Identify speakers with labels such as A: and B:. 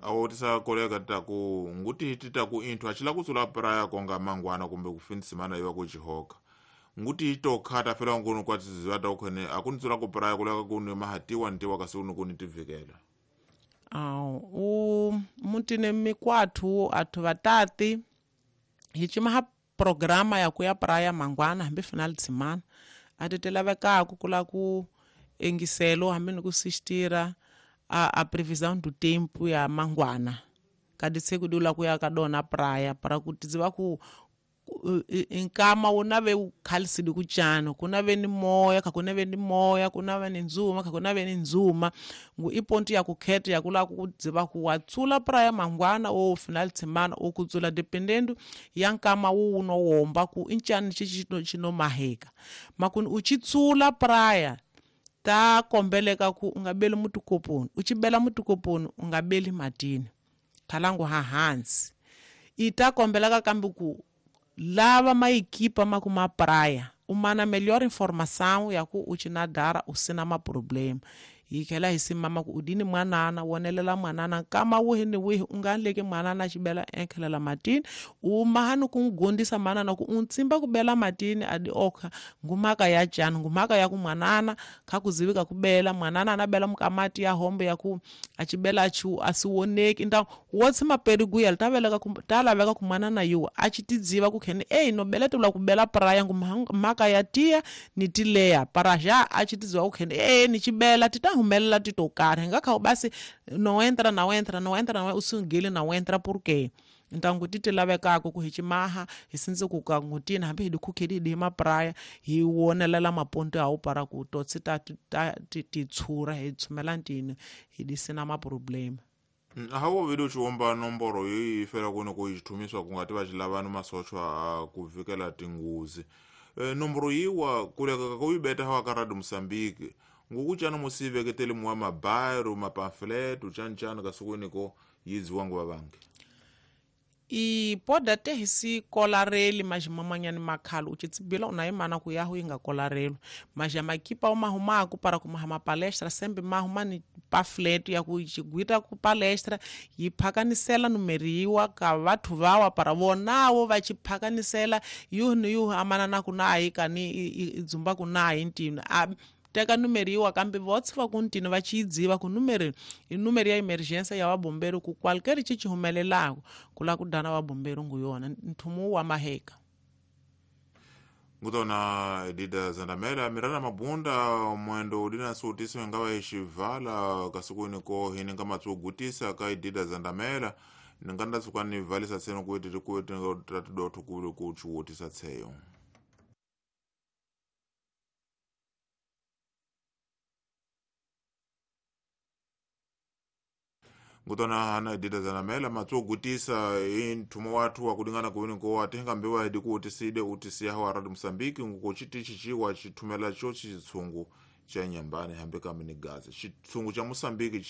A: Awotisa koleka taku nguti titaku inthu achila kutsula praya konga mangwana kumbe kufindisimana iwa kuchihoka nguti itokhata fela ngunu kwatiziwa takukhene akunitsula kupraya kuleka kuni mahatiwa ntiwa kasi unu kuni tivikela.
B: U mutini mikwathu athu vatati hi cimaha programa ya kuya praya mangwana hambi final de semana ati ti lavekaku kula ku engiselo hambi ni ku sistira a previsão do tempo ya mangwana kadi se ku dula kuya ka dona praia para ku tiziva ku nkama wu na ve wu khalisile ku cana ku na ve ni moya kha ku na ve ni moya ku na ve ni ndzuma kha ku na ve ni ndzuma ngu i ponto ya ku kheta ya ku lava ku dziva ku wa tsula praia mangwana o final de semana o ku tsula dependendo ya nkama wu no womba ku i ncani xi xi no maheka makuni u ci tsula praia ta kombeleka ku u nga beli mutikoponi u ci bela mutikoponi u nga beli matini khalangu ha hansi i ta kombeleka kambe ku lava maequipa ma ku ma praia u mana melhor informação ya ku u ci nadara u sina maproblema hi tlhela hi simama ku u dini mwanana wonelela mwanana nkama wihi ni wihi u nga leki mwanana a xi bela enkhelela matini u mahani ku n'wi gondisa manana ku u ntsimba ku bela matini a di okha ngumhaka ya cani ngumhaka ya ku mwanana kha ku zivika ku bela mwanana a na bela mukamati ya hombe ya ku a ci bela a chi a si woneki então wo tshima periguya ta veleka ku ta laveka ku mwanana yiwa a ci tidziva ku kheni ei no bela tula ku bela praia ngumhaka ya tiya ni tileya para já a ci tidziva ku kheni ei ni ci bela ti ta humelela ti to karhi hi nga kha basi no entra no entra no entra no usungile no entra por quê então ku ti ti lavekaka ku hi cimaha hi sindze ku ka ngutini hambi hi di khukheli hi di mapraya hi wonelela maponto ya para ku totsi ta ta ti tshura hi tshumela ntini hi di sina maproblema.
A: Hawo vile uchiwomba nomboro yi fela kuni ku xithumiswa ku nga ti va xi lavani masochwa a ku vikela tinguzi nomboro yiwa kuleka ka ku yi beta hawa ka Radio Mosambiki ngukucana musi veketeli muwa mabairo mapamfleto chani kasukwini ko yidziwa nguva vangi.
B: I pode até hi si kolareli mas mamanyani makhalo u tshibila una imana ku yahu inga kolarelo mas ya makipa uma humaku para kumaha mapalestra sempre mahuma ni pamphlet ya ku xigwita ku palestra yi phakanisela numeriwa ka vathu vawa para vonawo va xi phakanisela yuhu ni yuhu amana na ku nayi kani i dzumba ku nayi ntini a teka numeriwa kambe votse va ku ntini va ci dziva ku numeri i numeri ya emergência ya vabomberi ku qualquer ci ci humelelaku ku la ku dana vabomberi ngu yona nthumu wa maheka.
A: Ngutona Edida Zandamela mirana mabunda mwendo udina suutisi ngawa ixivala kasukwini ko hini nga matsugutisa ka Edida Zandamela ninganda tsuka ni valisa tseno kuiti tikuiti tatidotho kuli kuchiwutisa tseyo. Ngutona hana Edida Zandamela matsugutisa inthumo wathu wakulingana kuwini ko atenga mbewa hidi kuutiside utisiya hawa Radio Mosambiki ngukuchiti chichiwa chithumela cho chitsungu cha nyambani hambe kamini gaza chitsungu cha Mosambiki.